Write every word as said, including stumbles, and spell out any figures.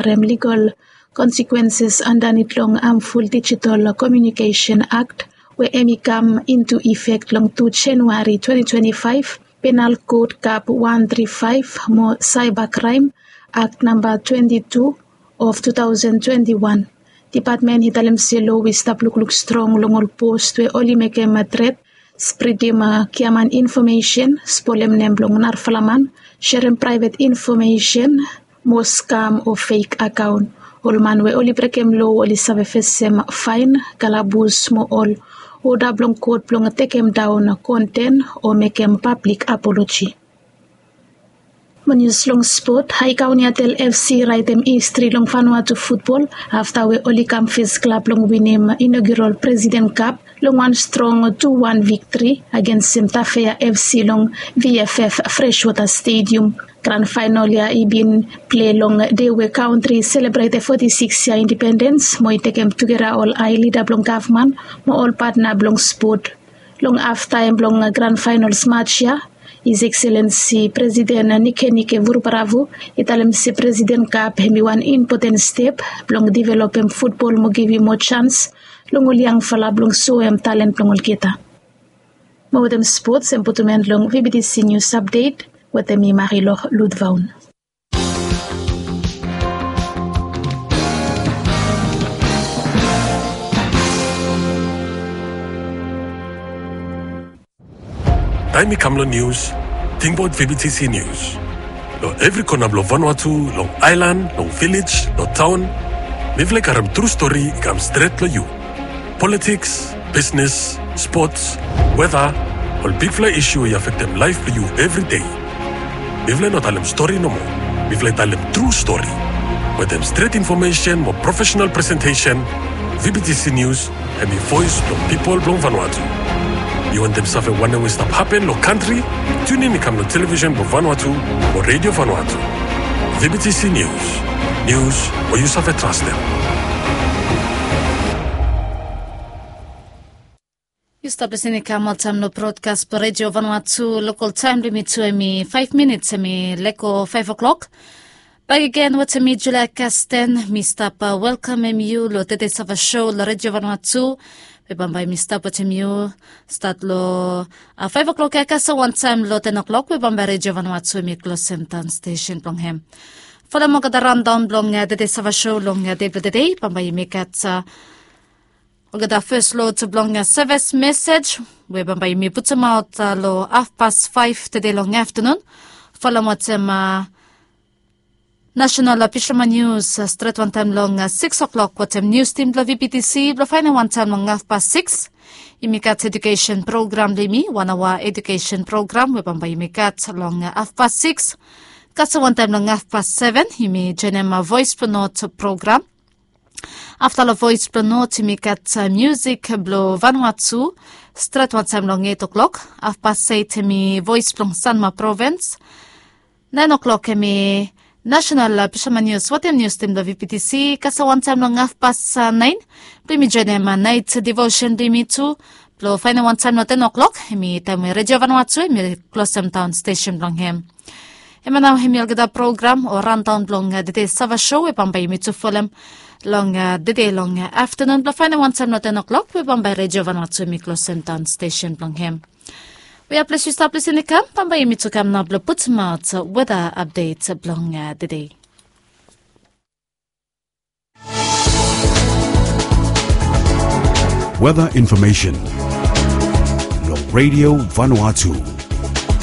harem legal consequences andanit long Harmful Digital Communication Act we hemi kam into effect long tu January twenty twenty-five, Penal Code Cap one three five mo Cybercrime Act namba twenty-two of two thousand twenty-one. Dipatmen i talem se loa i stap lukluk strong long ol post we oli mekem tret, spridim giaman infomesen, spolem nem blong narafala man, serem praevet infomesen, mo skam o fek akaon. Ol man we oli brekem loa oli save fesem faen, kalabus mo ol oda blong kot blong tekem daon konten o mekem pablik apoloji. Mo nius long spot, High Kaunti Atel F C i raetem histri long Vanuatu futbol afta we oli kam fes klab blong winim inaugural President Cup long wan strong tu wan viktri agensem Tafea F C long V F F Freshwater Stadium. Gran faenol ya i bin plei long dei we kantri i selebretem foti sikis yia indipendens mo i tekem tugeta ol hae lida blong gavman mo ol patna blong spot. Long haftaem blong gran faenol match ya, His Excellency Presiden Nikenike Vurubaravu i talem se Presiden Kap hemi wan impoten step blong developem futbol mo givim moa jans long ol yangfala blong soem talen blong olgeta. Mo wetem spots hem putum en long V B T C News Update wetem mi Marilor Ludvaun. Taem i kam long nius, tingbaot V B T C News. Long evri kona blong Vanuatu, long aelan, long vilej, long taon, mifala i karem tru stori i kam stret long yu. Politiks, bisnes, spots, weta, ol bigfala isu we i afektem laef blong yu evri dei. Mifala i no talem stori nomo. Mifala i talem tru stori. Wetem stret infomesen mo profesenal presentesen, V B T C News hemi voes blong pipol blong Vanuatu. Yu wantem save wanem we i stap hapen long kantri? Tiunin i kam long televisen blong Vanuatu o Redio Vanuatu. V B T C News. Nius we yu save trastem. Yu stap lisin i kam oltaem long brodkas blong Redio Vanuatu. Lokol taem blong yumi tu hemi faef minits hemi lego faef o'klok. Bakegen wetem mi Julia Kasten, mi stap welkamem yu long Tede Sava Sou long Redio Vanuatu. We bambae mi stap wetem yu stat long faef o'klok ya kasem wantaem long ten o'klok we bambae Redio Vanuatu hemi klosem daon stesen blong hem. Folem olgeta raondaon blong Tede Sava Sou long dei blong tede, bambae yumi gat olgeta fes lot blong seves mesej we bambae yumi putumaot long hafpas faef tede long aftanun. Folem wetem nasenal bisoman nius stret wantaem long sikis o'klok wetem nius tim blong V B T C blong faenem wantaem long hafpas sikis. Yumi gat edukesen program blong yumi, wan aoa edukesen program we bambae yumi gat long hafpas sikis. Kasem wantaem long hafpas seven yumi joenem Voes blong Not program. Afta long Voes blong Not yumi gat miusik blong Vanuatu stret wantaem long eit o'klok. Hafpas eit hemi Voes blong Sanma Provins. Naen o'klok hemi nasenal bisoman nius wetem nius tim blong V B T C. Kasem wantaem long hafpas naen blong yumi joenem naet divosen blong yumi tu blong faenem wantaem long ten o'klok. Hemi taem we Redio Vanuatu hemi klosem daon stesen blong hem. Hemia nao hemi olgeta program o raondaon blong Tede Sava Sou we bambae yumi tu folem long tede long aftanun blong faenem wantaem long ten o'klok we bambae Redio Vanuatu hemi klosem daon stesen blong hem. We a ples yu stap lisin i kam, bambae yumi tu kam nao blong putumaot weta apdet blong tede. Weta infomesen long Redio Vanuatu.